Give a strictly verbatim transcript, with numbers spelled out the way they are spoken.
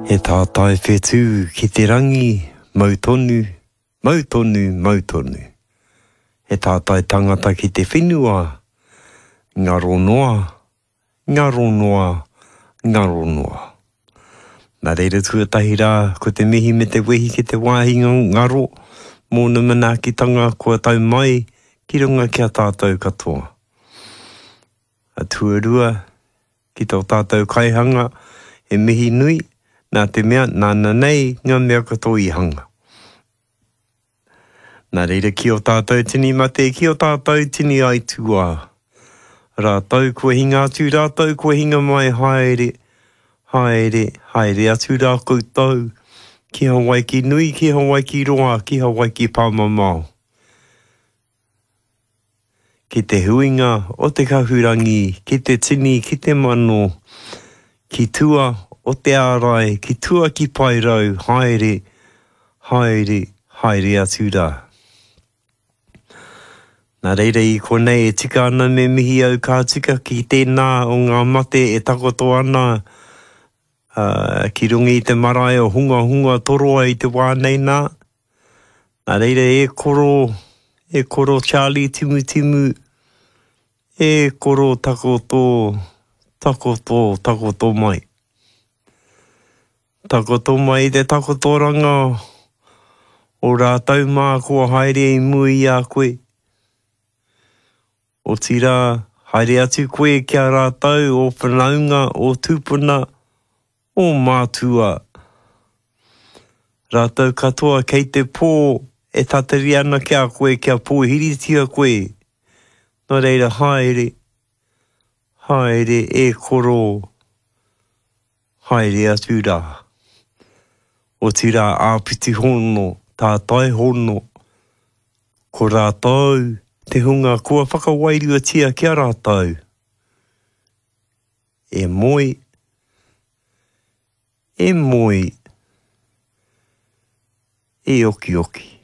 He tātai whetū ki te rangi, mau tonu, mau tonu, mau tonu. He tātai tangata ki te whenua, ngaro noa, ngaro noa, ngaro noa. Nā reira tuatahi rā, ko te mihi me te wehi ki te wāhi ngaro, mōna manaakitanga kua tau mai ki runga ki a tātou katoa. A tuarua, ki tō tātou kaihanga, he mihi nui, nā te mea, nāna nei ngā mea katoa i hanga. Nā reira ki o tātou tini mate, ki o tātou tini aituā. Rātou kua hinga atu, rātou kua hinga mai, haere, haere, haere atu rā koutou, ki Hawaiki nui, ki Hawaiki roa, ki Hawaiki pāmamao. Ki te huinga o te kahurangi, ki te tini, ki te mano, ki tua o te ārai, ki tua ki Paerau, haere, haere, haere atu rā. Nā reira i konei e tika ana me mihi au ka tika ki tēnā o ngā mate e takoto ana uh, ki runga i te marae o hunga hunga toroa i te wā nei nā. Nā reira e koro, e koro Charlie Timutimu, e koro takoto, takoto, takoto mai. Takoto mai i te takotoranga o rātou mā kua haere i mua i a koe. Otirā, haere atu koe ki a rātou o whanaunga, o tūpuna, o mātua. Rātou katoa kei te pō e tatari ana ki a koe kia pōhiritia koe. Nō reira haere, haere e koro, haere atu rā. Otirā āpiti hono, tātai hono, ko rātou te hunga kua whakawairuatia ki a rātou. E moe, e moe, e okioki.